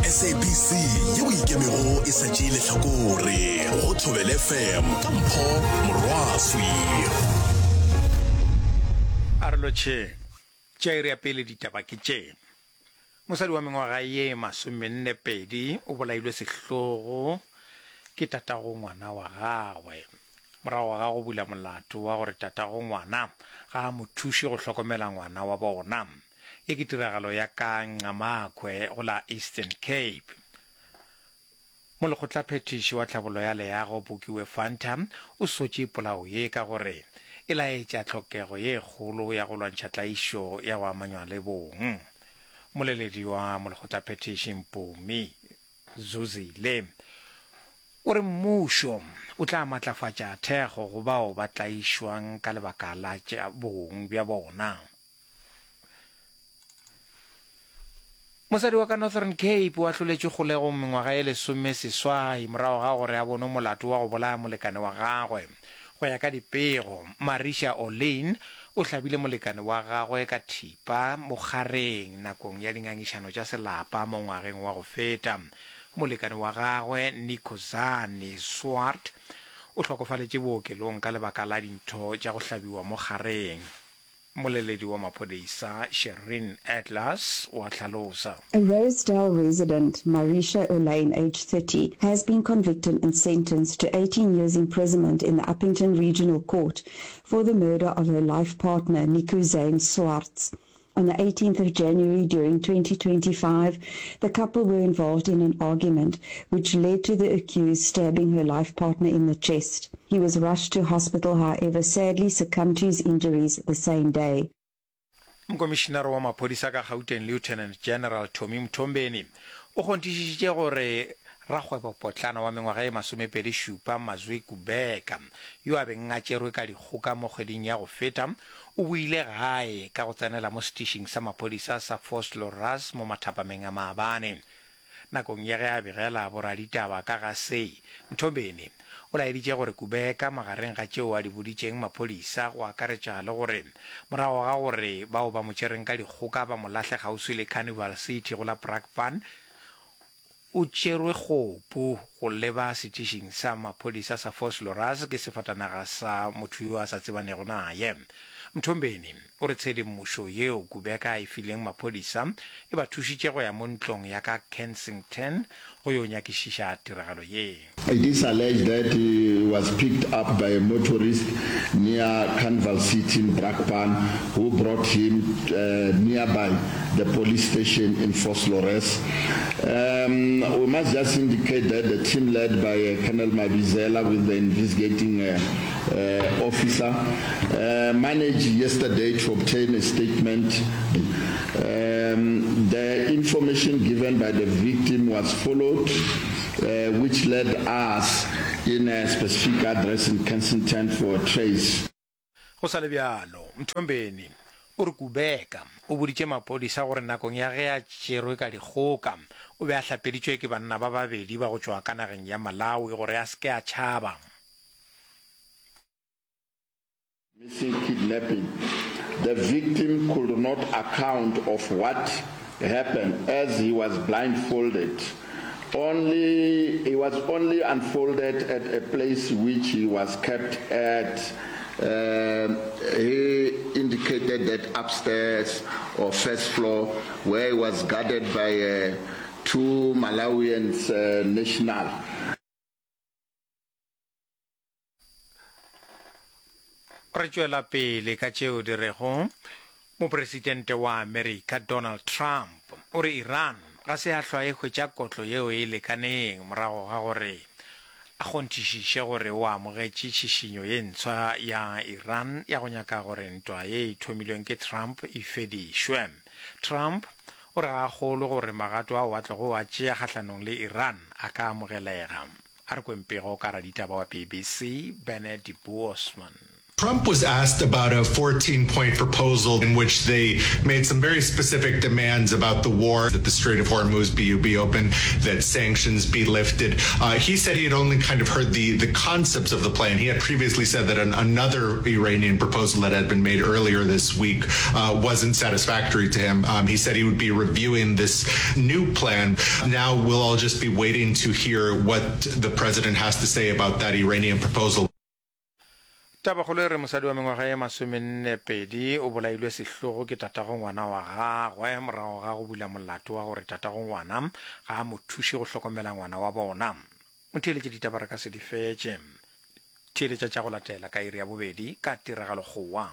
SABC yeo e ikemego e sa tšee lehlakore go Thobela FM ka Mpho Morwaswi. A re lotšheng. Tša iri ya pele ditaba ke tše. Mosadi wa mengwaga ye masomennepedi o bolailwe sehlogo ke tatago ngwana wa gagwe morago ga go bula molato wa gore tatago ngwana ga a mo thuše go hlokomela ngwana wa bona. Ye ke tiragalo ya ka Ngqamakhwe go la Eastern Cape. Molekgotlaphethiši wa tlhabollo ya leago Bukiwe Fanta o sotše polao ye ka gore e laetša tlhokego ye kgolo ya go lwantšha tlaišo ya go amanywa le bong. Moleledi wa molekgotlaphethiši Mpumi Zuzile o re mmušo o tla matlafatša thekgo go bao ba tlaišwang ka lebaka la tša bong bja bona. Mosadi wa ka Northern Cape o ahloletšwe kgolegong mengwaga ye lesomeseswai morago ga gore a bonwe molato wa go bolaya molekane wa gagwe. Go ya ka dipego, Marisha Orleyn o hlabile molekane wa gagwe ka thipa mo kgareng nakong ya dingangišano tša selapa mo ngwageng wa go feta. Molekane wa gagwe, Nikozani Swart, o hlokofaletše bookelong ka lebaka la dintho tša go hlabiwa mo kgareng. Moleledi wa maphodisa Shereen Atlas o a hlalosa. A Rosedale resident, Marisha Olaine, aged 30, has been convicted and sentenced to 18 years imprisonment in the Upington Regional Court for the murder of her life partner, Nico Zane Swartz. On the 18th of January during 2025, the couple were involved in an argument which led to the accused stabbing her life partner in the chest. He was rushed to hospital, however, sadly succumbed to his injuries the same day. Mokomišinare wa maphodisa ka Gauteng Lieutenant General Tommy Mthombeni o kgonthišišitše gore rakgwebopotlana wa mengwaga ye masomepedi šupa Mazwi Kubeka yo a beng a tšerwe ka dikgoka mo kgweding ya go feta o boile gae ka go tsenela mo setišing sa maphodisa sa Vosloorus mo mathapameng a maabane. Nakong ya ge a begela boraditaba ka ga se, Mthombeni o laeditše gore Kubeka magareng ga tšeo a di boditšeng maphodisa go akaretša le gore morago ga gore bao ba mo tšereng ka dikgoka ba mo lahle kgauswi le Carnival City go la Brakpan, o tšerwe kgopu go leba setišing sa maphodisa sa Vosloorus ke sefatanaga sa motho yo a sa tsebanego naye. Mthombeni o re tshedimošo yeo Kubeka a e fileng maphodisa e ba thušitše go ya mo ntlong ya ka Kensington go yo nyakišiša tiragalo ye. It is alleged that he was picked up by a motorist near Carnival City in Brakpan who brought him nearby the police station in Vosloorus. Um, we must just indicate that the team led by Colonel Mabizela with the investigating uh, officer uh, managed yesterday to obtain a statement. Um, the information given by the victim was followed, uh, which led us in a specific address in Kensington for a trace. Go sa le bjalo, Mthombeni o re Kubeka o boditše maphodisa gore nakong ya ge a tšerwe ka dikgoka, o be a hlapeditšwe ke banna ba babedi ba go tšwa ka nageng ya Malawi gore a se ke a tšhaba. Missing kidnapping. The victim could not account of what happened as he was blindfolded. Only he was only unfolded at a place which he was kept at. Uh, he indicated that upstairs or first floor where he was guarded by uh, two Malawians uh, national. Re tšwela pele ka tšeo di rego Mopresidente wa Amerika Donald Trump o re Iran ga se ya hlwa e hwetša kotlo yeo e lekaneng morago ga gore a kgonthišiše gore o amogetše tšhišinyo ye ntshwa ya Iran ya go nyaka gore ntwa ye e thomilweng ke Trump e fedišwe. Trump o re ga a kgolwe gore magato ao a tlogo a tšea kgahlanong le Iran a ka amogelega. A re kweng pego ka raditaba wa BBC, Bernard Boosman. Trump was asked about a 14 point proposal in which they made some very specific demands about the war, that the Strait of Hormuz be, be open, that sanctions be lifted. Uh, he said he had only kind of heard the, the concepts of the plan. He had previously said that an, another Iranian proposal that had been made earlier this week uh, wasn't satisfactory to him. Um, he said he would be reviewing this new plan. Now we'll all just be waiting to hear what the president has to say about that Iranian proposal. Tabakgolo e re mosadi wa mengwaga ye masomennepedi o bolailwe sehlogo ke tatago ngwana wa gagwe morago ga go bula molato wa gore tatago ngwana ga a mo thuše go hlokomela ngwana wa bona. Motheeletše ditaba re ka se di fetše. Theeletša tša go latela ka iri ya bobedi ka tiragalo kgowa.